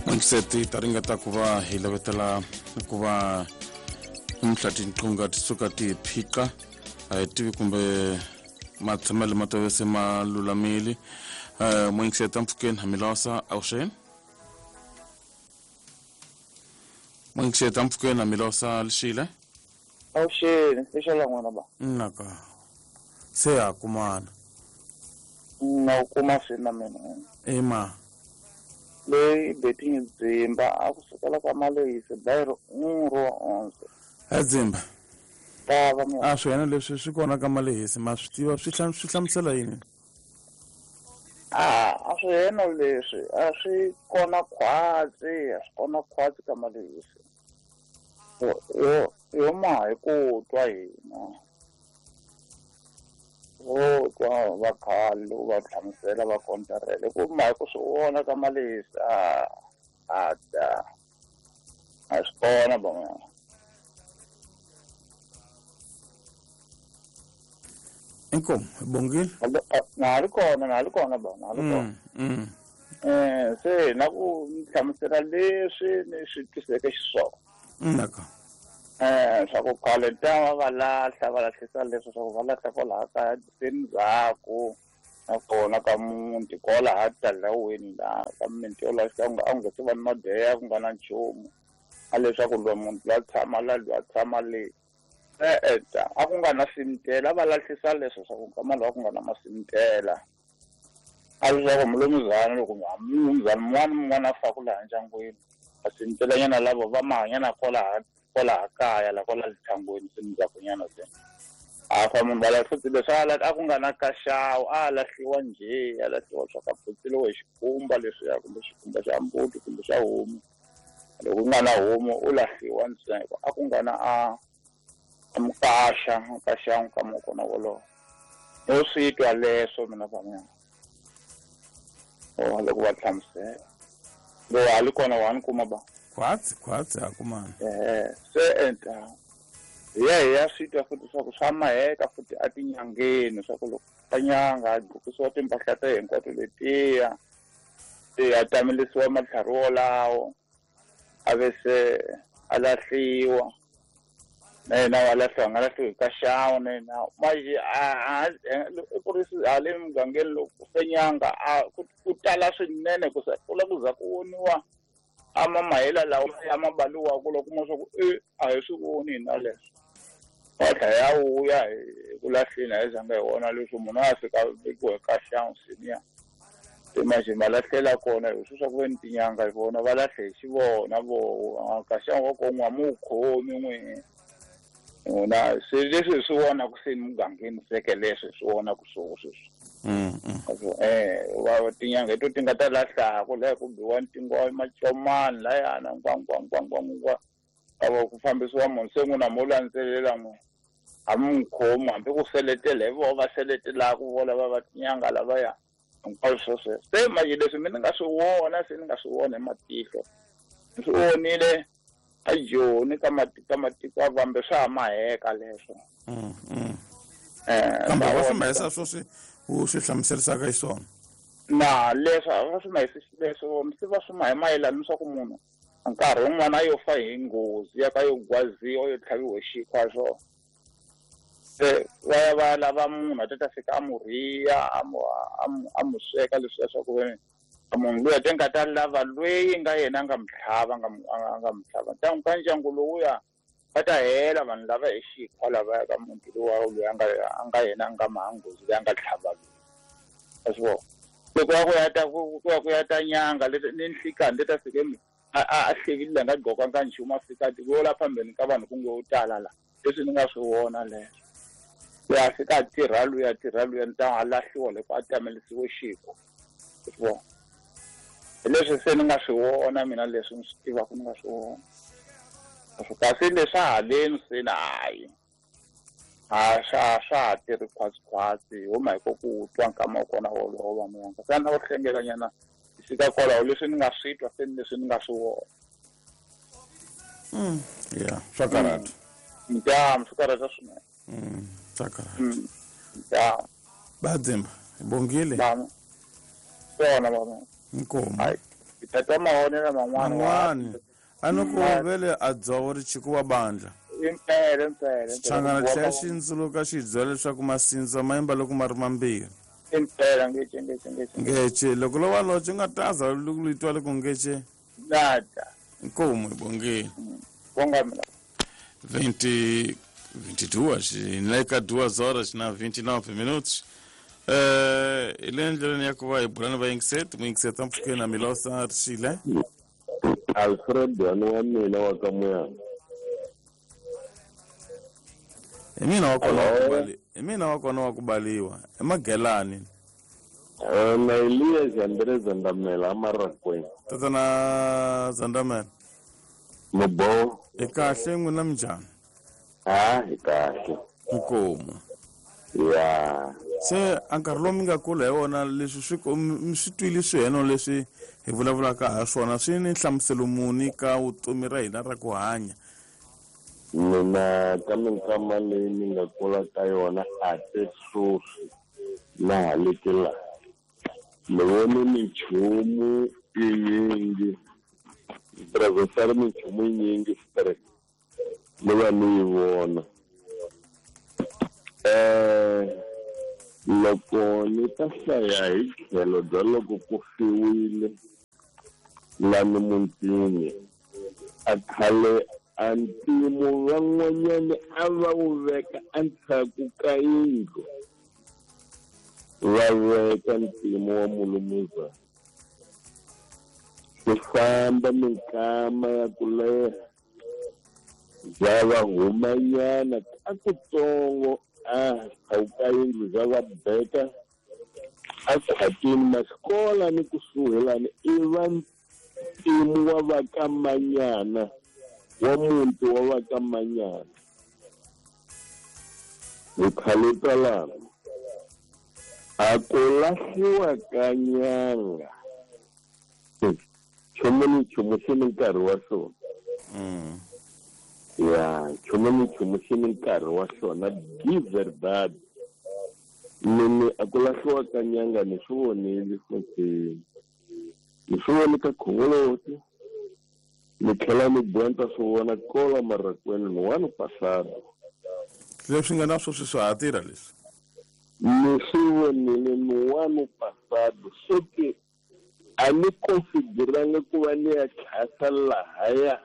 N'wingiseti ta ringeta ku va hi lavetela ku va namuntlha tinqunga ti suka ti hi phiqa a hi tivi kumbe matshamelo ma tove se ma lulamile. N'wingiseti mpfhukeni hamilosa avuxeni. N'wingiseti mpfhukeni hamilosa lixile. Avuxeni, lexela n'wana ba. Naka se ha kumana. Na ku kuma se na mina. Ema. Leyi betting dzimba a ku sukela ka malehisi bayiro unro onse. A dzimba. Tava mina. A swi yena leswi swi kona ka malehisi ma swi tiva swi swi hlamusela yini? A swi yena leswi a swi kona khwatsi, a swi kona khwatsi ka malehisi. Yo yo ma hi ku twa hina. Vo twa va khale loko va hlamusela va kontarela ku ma hi ku swi vona ka malehisi a ta a swi kona ba mina. Inkomu bongile. Na ha ri kona, na ha ri kona ba, na ha ri kona. Se na ku hlamusela leswi ni swi twiseke xiswona. Naka. Swa ku khale ta va lahla va lahlisa leswi swa ku va lahla kwalaha kaya se ndzhaku nakona ka muti kwalaha talaweni laha ka mimiti yo lahla a ku nga se va ni madeya ku nga na nchumu a leswaku loyi munhu loyi a tshama la loyi a tshama le e-e ta a ku nga na simtela va lahlisa leswo swa ku nkama lowu a ku nga na masimtela a leswaku mulumuzana loko mulumuzana mun'wana mun'wana a faku laha ndyangwini masimtelanyana lavo va mahanyana kwalaha kaya la kwala lithangweni se ndzhakunyana se a fa munhu va lahla leswi a ku nga na kaxawu a lahliwa njhe a lahliwa swa ka phutseliwa hi xikhumba leswiya kumbe xikhumba xa mbuti kumbe xa homu loko ku nga na homu u lahliwa ntsena a ku nga na a mukaxa mukaxa nkama kona wolowo no swi twa leswo mina va mina o loko va hlamusela lo ha li kona wa ni kuma ba khwatsi khwatsi ha kumana. Se enta hi ya hi ya swi twa futhi swa ku swa maheka futhi a tinyangeni swa ku loko ka nyanga a gqokisiwa timpahla ta hinkwato letiya se a tamelisiwa matlhari wolawo a ve se a lahliwa na yena wa lahliwa nga lahliwi hi kaxawu na yena manje ku ri hale mugangeni loko ku fe nyanga a ku tala swinene ku sa kula ku za ku voniwa a mamahela lawa ya mabaliwaku loko kuma swa ku e a hi swi voni hina leswo wa tlhela ya vuya hi ku lahleni a hi zanga hi vona leswo munhu a fika vekiwa hi kaxawu senior se manje ma lahlela kona hi swi swa ku ve ni tinyanga hi vona va lahle hi xivona vo kaxawu wa ko n'wa mu wu khomi n'wi n'wina se leswi hi swi vonaku se ni mugangeni seke leswi hi swi vonaku swo sweswi. Va tinyanga hi to ti nga ta lahlaku laha ku biwa ntingo macomani layana ngwangwangwangwangwa ava ku fambisiwa munhu se n'wina mo landzelela n'we a mi n'wi khomi hambi ku seletela hi voho va seletelaku vo lava va tinyanga lavaya hinkwaswo swo sweswo se manje leswi mi ni nga swi vona se ni nga swi vona hi matihlo ni swi vonile a Joni ka ka matiko a vambe swa ha maheka leswo. Kambe va swi mahisa sweswi u swi hlamuserisaka xiswona. Na leswo a va swi mahisi leswo se va swi mahe mayelana ni swa ku munhu nkarhi wun'wana a yo fa hi nghozi ya ka yo gwaziwa yo tlhaviwa hi xikhwa swona se va ya va lava munhu a ta ta fika a mu rhiya a mu sweka leswiya swa ku ve munhu luya te nga ta lava lweyi nga yena a nga mu tlhava a nga mu tlhava ntangu ka ndyangu lowuya va ta hela vanhu lava hi xikhwa lavaya ka muti lowa loyi a nga yena a nga maha nghozi leyi a nga tlhava loyi a swi vona loko ya ku ya ta ku ya ku ya ta nyanga leti ni nhlikani leti a fike a hlekile nga gqokanga nchumu a fika ti la phambeni ka vanhu ku ngo tala la leswi ni nga swi vona leswo loyi a fika a tirha luya tirha luya ni ta a lahliwa loko a tamelisiwe xikhwa swi vona hi leswi se ni nga swi vona mina leswi ni swi tivaka ni nga swi vona kasi leswa haleni se na hayi a swa ha tirhi khwatsi hi huma hi ko ku twa nkama wa kona wolowo va muyanga se a na ku hlengelanyana hi fika kwalaho leswi ni nga swi twa se ni leswi ni nga swi vona. Ya swa karhata. Ntamu swi karhata swinene. Swa karhata. Ntamu. Badzimba hi bongile. Swona va. Inkomu. Hayi. Tata mavonelo man'wana. A ni ku vele a dzovo ri chikuwa bandla. Impela impela. Xichangana tlhela xi ndzuluka xi byela leswaku masindza ma yimba loko ma ri mambirhi. Impela ngece ngece ngece. Ngece loko lo wa loche nga taza loko li twa loko ngece. Nada. Nkomo ibongeni. Bonga mina. 22 nleka 2 horas na 29 minutos. Ile ndleleni ya ku va hi bulani va yingiseti muyingiseti ampfhukeni na Milosa Rixile. Alfred wa mina wa ka Muyana. Hi mina wa kona wa ku bali, hi mina wa kona wa ku baliwa emagelani. Na Elias Andre Zandamela Amarakweni. Tatana Zandamela. Mubo. Hi kahle n'wina minjhani? Ha, hi kahle. Nkomu. Ya. Se a nkarhi lowu mi nga kula hi wona leswi swi mi swi twile swiheno leswi hi vulavulaka ha swona swi ni nhlamuselo muni ka vutomi ra hina ra ku hanya? Mina ka minkama leyi ni nga kula ka yona a te sweswi na ha le ke laha. Ni vone minchumu yinyingi, ni minchumu yinyingi straight ni va ni yi vona. Loko ni ta hlaya hi tlhelo bya loko ku fiwile lani mutini a khale a ntimu van'wanyani a va wu veka endzhaku ka yindlu, va veka ntimu wa mulumuzana. Ku famba minkama ya ku leha bya va humanyana ka kutsongo a ka yindlu bya va beka a khwatini masikola ni kusuhi i va ntimu wa va ka Manyana, wa muti wa va ka Manyana. Hi khale talana a ku lahliwa ka nyanga. Nchumu ni nchumu xi ni nkarhi wa xona. Ya, nchumu ni nchumu xi ni nkarhi wa xona di verdad. Mini a ku lahliwa ka nyanga ni swi vonile futhi. Ni swi vone ka Khongoloti. Ni tlhela ni boha swi vona kola Marakweni ni wani pasado. Leswi nga na sweswi swa ha tirha leswi. Ni swi vonile ni wani pasado. Soki a ni konsideranga ku va ni ya tlhasa lahaya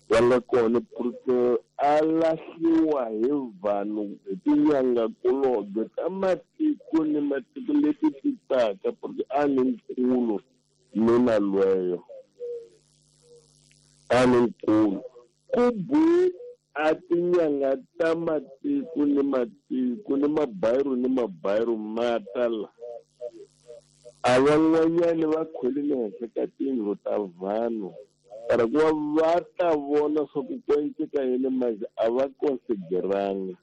va nga kona porque a lahliwa hi vanhu hi tinyangakulobye ta matiko ni matiko leti ti taka porque a ni nkulu mina lweyo. A ni nkulu ku bu a tinyanga ta matiko ni matiko ni mabayiru ma ta la. A van'wanyani va kholile henhla ka tiyindlu ta vanhu para ku va va ta vona swa ku ku enceka yini manje a va konsideranga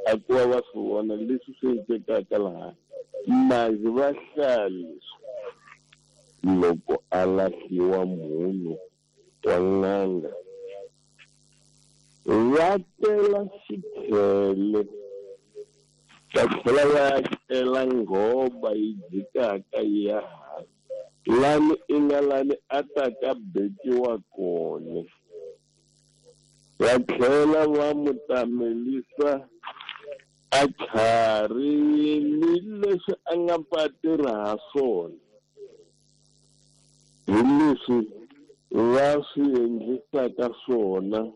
a ku va va swi vona leswi swi encekaka laha manje va hlaya leswi. Loko a lahliwa munhu wa n'anga va tela xikhele va tlhela va tela nghoba yi jikaka yi ya hansi lani i nga lani a ta ka bekiwa kona. Va tlhela va mu tamelisa a tlhari ni leswi a nga pa tirha ha swona. Hi leswi va swi endlisaka swona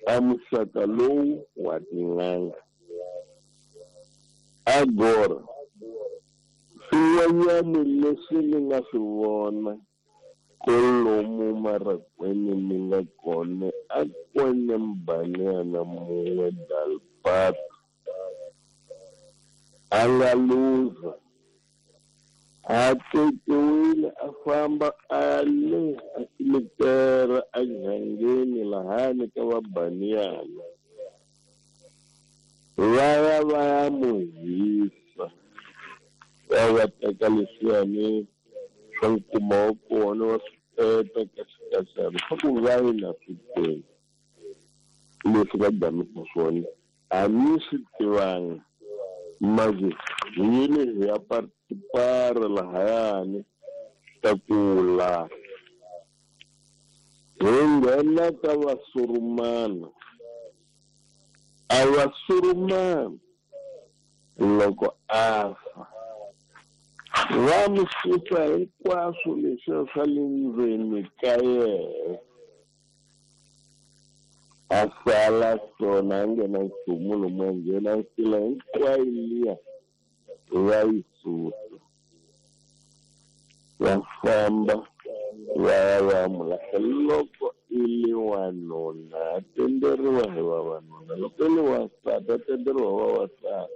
a muxaka lowu wa tin'anga. Agora swin'wanyani leswi ni nga swi vona kolomu Marakweni ni nga kona a kwene mbanyana mun'we Dalpato a nga luza a tekiwile a famba a le a simitera a jangeni lahani ka vabaniyana va ya va ya mu hisa va va teka leswiyani swa nkuma wa kona wa swi peta kahlekahlana swa ku va yi na swi tele leswi va damisa swona a ni swi tivanga manje hi yile hi ya participar lahayani. ta ku lahla. Hi nghena ka vasurumana. A vasurumana loko a fa va mi susa hinkwaswo leswiya swa le ndzeni ka yena, a sala swona a nghena nchumu lomu a nghena nsila hinkwayo liya va yi susa, va famba va ya va mu lahla. Loko i le wanuna a tenderiwa hi vavanuna, loko i le wansati a tenderiwa hi vavasati.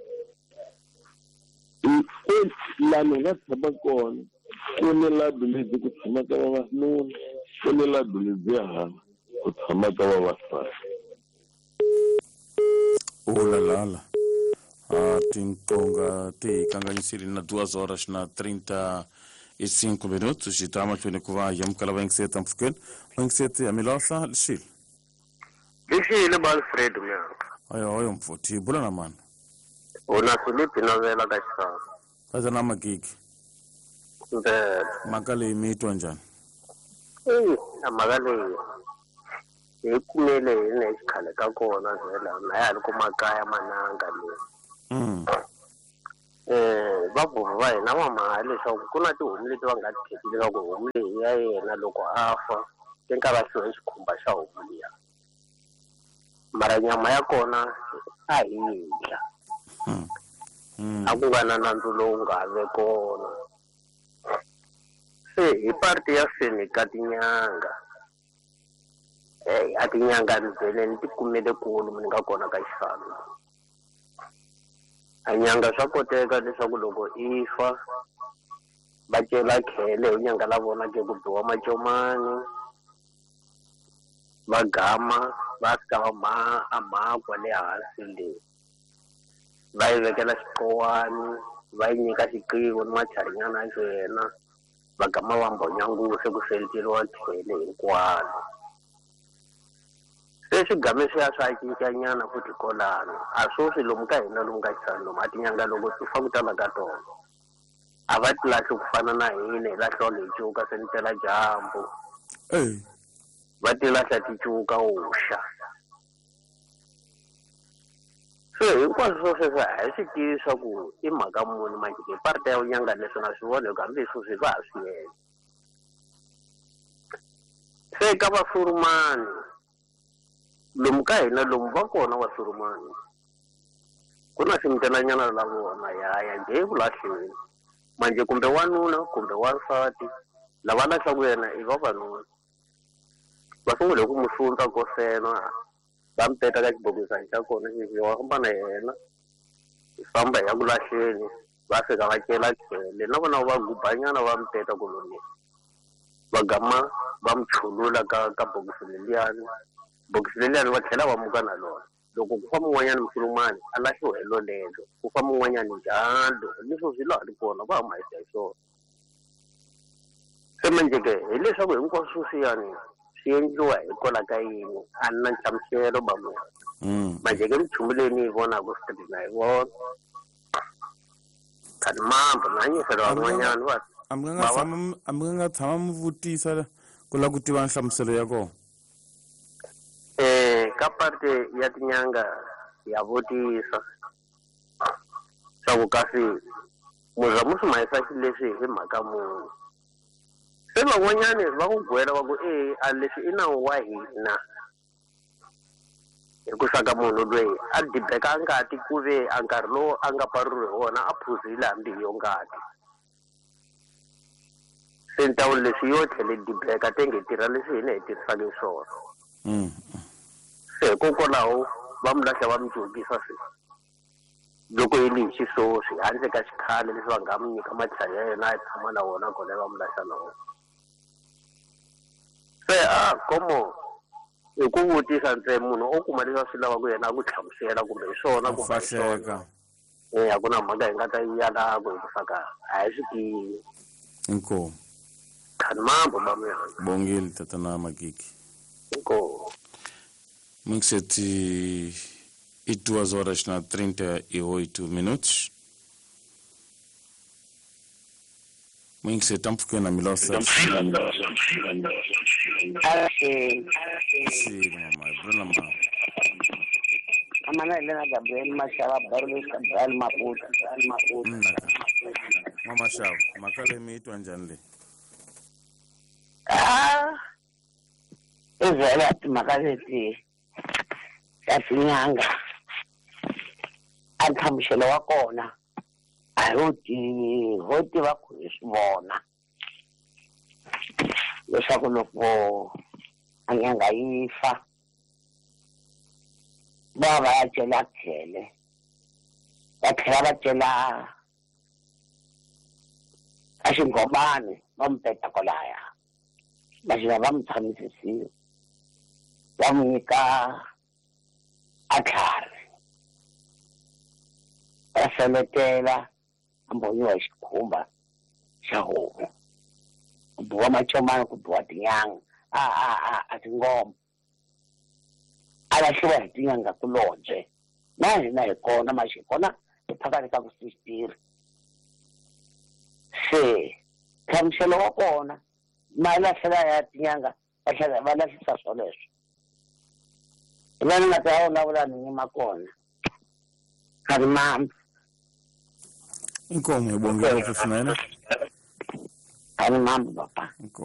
Lani hi nga tshama kona ku ni labi lebyi ku tshamaka vavanuna, ku ni labi lebyi hala ku tshamaka vavasati. Ulalala a tinqonga ti hi kanganyisile na 2 horas na 35 minutos. Xi ta mahlweni ku va hi amukela vayingiseti mpfhukeni. Vayingiseti ya milahla lixile. Lixile ba Alfred myanka. Ayo ayo mfuthi bula na mani. Una Filipi novela ka xisaka. Kaza na magigi. Ndlela. Mhaka leyi mi yi twa njhani? A mhaka leyi hi kumele hi na xikhale ka kona vhela na ya ha ri ku makaya mananga leyi. Vabuva va hina va mhaka leswaku ku na tihomu leti va nga ti kheti leswaku homu leyi ya yena loko a fa ti nga lahliwa hi xikhumba xa homu liya. Mara nyama ya kona a hi yi dya. A ku nga na nandzu lowu nga ve kona. Se hi parti ya seni ka tinyanga. A tinyanga ni vhele ni ti kumele kulu ni nga kona ka xifano. A nyanga swa koteka leswaku loko i fa va cela khele hi nyanga la vona ke ku biwa macomani, va gama va fika va ma a makwa le hansi le, va yi vekela xiqowani, va yi nyika xiqivo ni macharinyana ya yena, va gama va mbonya nguvu se ku senteliwa khele hinkwalo. Se swigame swi ya swa cincanyana futhi kolano. A swoswi lomu ka hina lomu ka xisana lomu a tinyanga loko ti fa ku tala ka tona a va ti lahli ku fana na hina hi lahliwa hi cuka se ni tela dyambu. Va ti lahla ti cuka uxa. Se hinkwaswo swo sweswo a hi swi tivi swa ku i mhaka muni manjhe ke parte ya nyanga leswi na swi vona hi ku hambi sweswi va ha swi endla. Se ka vasurumani lomu ka hina lomu va kona vasurumani ku na ximitelanyana la vona ya ya nje ku lahleni manje kumbe wanuna kumbe wansati lava lahlaku yena i vavanuna va sungule ku mu sundza kosena va mi teka ka xibokisana xa kona xexi wa famba na yena hi famba hi ya ku lahleni va fika va cela khele na vona va gubanyana va mi teka koloni va gama va mi chulula ka bokisi leliyani. Bokisi leliyani va tlhela va muka na lona. Loko ku fa mun'wanyani musulumani a lahliwa hi lolelo, ku fa mun'wanyani njalo leswo swi laha ri kona va huma hi hi swona. Se manjhe ke hileswaku hinkwaswo swiyani swi endliwa hikwalaho ka yini a ni na nhlamuselo ba munhu. Manjhe ke minchumu leyi ni yi vonaka street na yi vona. Khani mambo na nyisela van'wanyani va A mi nga tshama a mi nga tshama mi vutisa ku lava ku tiva nhlamuselo ya kona? Ka parte ya tinyanga ya vutisa swa ku kasi muza mu swi mahisa xileswi hi mhaka muni. Se van'wanyani va ku gwela va ku a leswi i nawu wa hina hi ku saka munhu loyi a dibeka ngati ku ve a nkarhi lowu a nga paruriwi hi wona a phuzile hambi hi yo ngati. Se ni ta vula leswi yo tlhele dibeka tenge hi tirha leswi hina hi tirhisaka hi swona. Se hikokwalaho va mi lahla va mi cokisa se loko yi li hi xisoswi handle ka xikhale leswi va nga mi nyika matlhari ya yena a tshama na wona kona va mi lahla na wona. Se a komo hi ku vutisa ntsena munhu o kuma leswi a swi lavaka yena a ku hlamusela kumbe hi swona kumbe hi swona. A ku na mhaka hi nga ta yi yalaka hi ku saka a hi swi tivi. Inkomu. Khani mambo mamuyana. Bongile tatana Magigi. Inkomu. Mixeti e 2 horas na 38 minutos. Muyingiseri ta mpfhukeni na milosa. Xini mama, hi bula na mama. Amana Elena Gabriel Mashava Barulesha Gabriel Maputo Maputo. Nnaka. Mama Xava, mhaka leyi mi yi twa njhani leyi? Ah, i vhela timhaka leti ta tin'anga a nhlamuselo wa kona a hi wu tivi, ho tiva ku hi swi vona leswaku loko a nyanga yi fa va va ya cela khele, va tlhela va cela a xingomani, va mu peta kwalaya, va xina va mu tshamisisiwa, va mu nyika a tlhari, va seletela, a mbonyiwa hi xikhumba xa homu, ku biwa macomani, ku biwa tinyanga, a tingoma, a lahliwa hi tinyanga kulobye. Na hina hi kona maxi hi kona hi phakani ka ku sixtiri. Se nhlamuselo wa kona ma lahlela ya tinyanga, va tlhela va lahlisa swoleswo. Hi la ni nga ta vulavula ni yima kona ka ri mambi. Inkomu, hi bonge ngopfu swinene. A ni mambi papa. Inkomu.